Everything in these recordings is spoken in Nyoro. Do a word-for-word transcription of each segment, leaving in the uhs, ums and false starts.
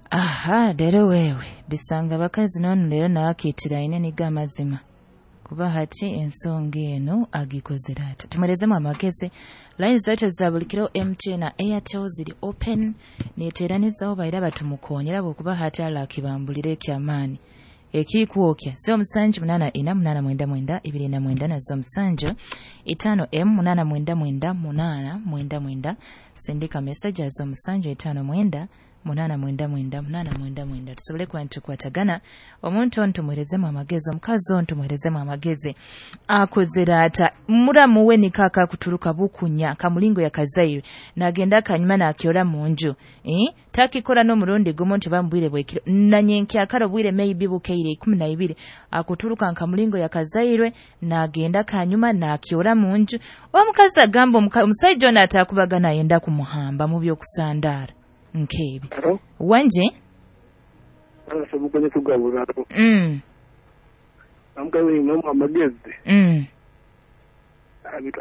Aha, rero wewe bisanga bakazi none rero naakitiraine niga amazima kuba hati ensonga eno agikozera ati tumwerezemu amagezi. Line zaitu za buli kiro M T N na Airtel ziri open, neteranizaho baira batumukonyera bwokuba hati alakibambulire ekyamaani ekikwokya zero musanju munana ina munana mwenda mwenda ibiri na mwenda na zero musanju itano m munana mwenda mwenda munana mwenda mwenda. Sindika message ya zero musanju itano mwenda munana mwenda mwenda munana mwenda mwenda tusobole kuba nitukwatagana. Omuntu ono tumuherezemu amagezi, omukazi ono tumuherezemu amagezi akozera ata muramu we nikaka kuturuka bukunya kamulingo yakazaire nagenda kanyuma nakyora munju eh takikora no murundi gumu nti bambwire bwekiro nanyenki akaro bwire maybe bukeire ikumi na ibiri akuturuka nkamulingo yakazairwe nagenda kanyuma nakyora munju. Omukazi agamba omusajja ono atakubagana yenda kumuhamba mu byokusandara nkebi. Wanje mm amugabira amagezi mm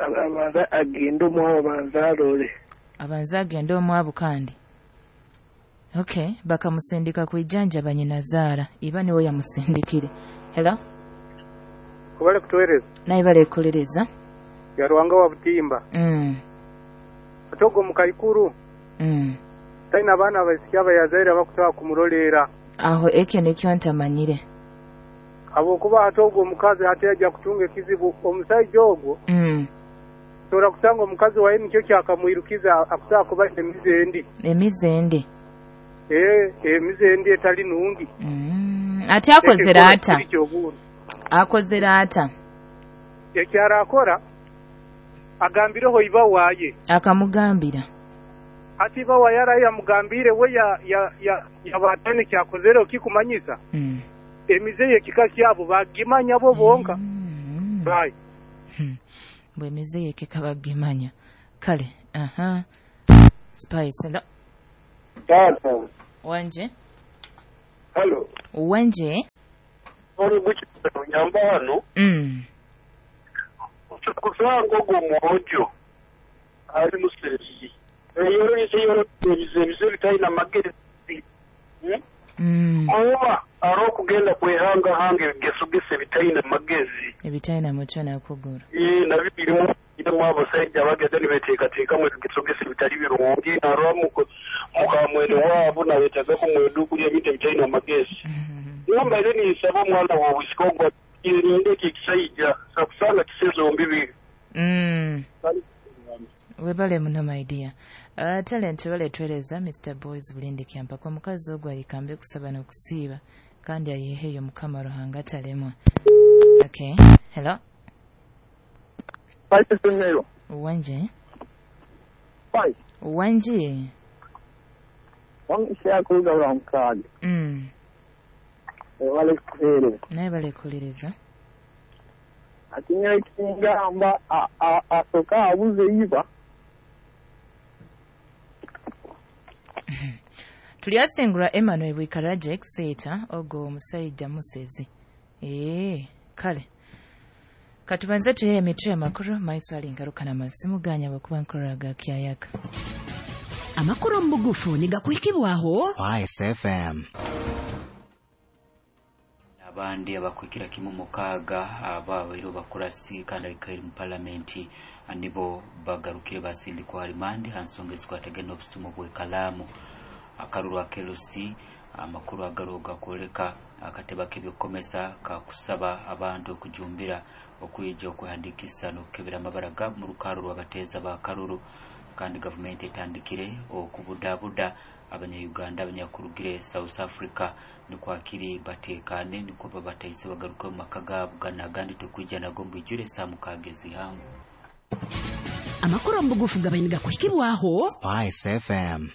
abanza agenda omwabo abanza arore abanza agenda omwabo kandi okay bakamusindika kwijanja banyinazaara iba niwe yamusindikire. Hello, kubale kutuwereza naye bale kulereza yarwanga wa butimba mm atogo mukaikuru mm taina abaana abaisiki abayazaire abakutwara kumurolera aho ekyo nikyo ntamanyire habwokuba ate ogwo omukazi ate ajja kutunga ekizibu omusajja ogwo mm. Tora kusanga omukazi waye nikyo kyakamwirukiza akusaa kuba emize endi emize endi eh emize endi etali nungi mm. Ate akozera ata akozera ata ekyara akora agambireho iba waye akamugambira ati iba waye yamugambire we ya ya ya yabatane kyakozere okikumanyisa mm. Emize yekika kyabo bagimanya bo bonka mm. Right. Hmm. Bwe emize yekika bagimanya kale. Aha, Spice. Hello. Tata wanje. Hello wanje ori guchiro nyamba hano mm kusanga ogwo mwojo ali musesi eyoro yoro ebize bitalina magezi mm oba ari okugenda kwehanga hanga ebigesogese bitalina magezi ebitalina mutwe nakuguru ee nabyo birimu birimu abasajja bagenda nibeteekateekamu ebigesogese bitali birungi narwa mukamwene waabo nabetaaga kumwedu kulya ebintu ebitalina magezi. Nimbaire ninsaba omwana w'obwisika ogwo yerinde eki ekisajja sakusanga kisezombi bibiri. Mm. Webale muno my dear. Uh, talent wale twereza Mister Boys bulindi kyampaka omukazi ogwo ayikambe kusaba n'okusiiba kandi ayiheyo Mukama Ruhanga atalemwa. Okay. Hello. Spice. Wanje. Spice. Wanje. Wangisha kuga mukaaga. Mm. Wale kulereza. Naye bale kulereza. Ati ekingamba asoka abuze iba. Tulyasengura Emmanuel Bwikaraje Exeter ogo omusajja musezi. Eh, kale. Katubanze tuye emitwe amakuru maiso alingaruka na masimu ganya bakuba nkoraga kyayaka. Amakuru mbugufu nigakwikibwaho Spice F M. Abandi abakwikira kimu mukaga ababairo bakurasi kandi alikairi mu parliament nibo bagarukire basindikwa rimandi hansonga ezikwatagana obusumo bw'ekalamu akaruru akelusi amakuru agaroga kwoleka akateba k'ebyokukomesa kakusaba abantu okujumbira okwijja okwehandikisa n'okukebera amabara gaabo mu rukaaro rw'abateeza ba karuru kandi gavumenti etandikire okubudabuda abanya-Uganda abanyakurugire South Africa nikwakiri batekane niko babataise bagaruke mu maka gaabo ganagandi tukwijja nago mbwijure saa mukaaga ezihangu. Amakuru mbugufu gabainiga kuhikibwaho Spice F M.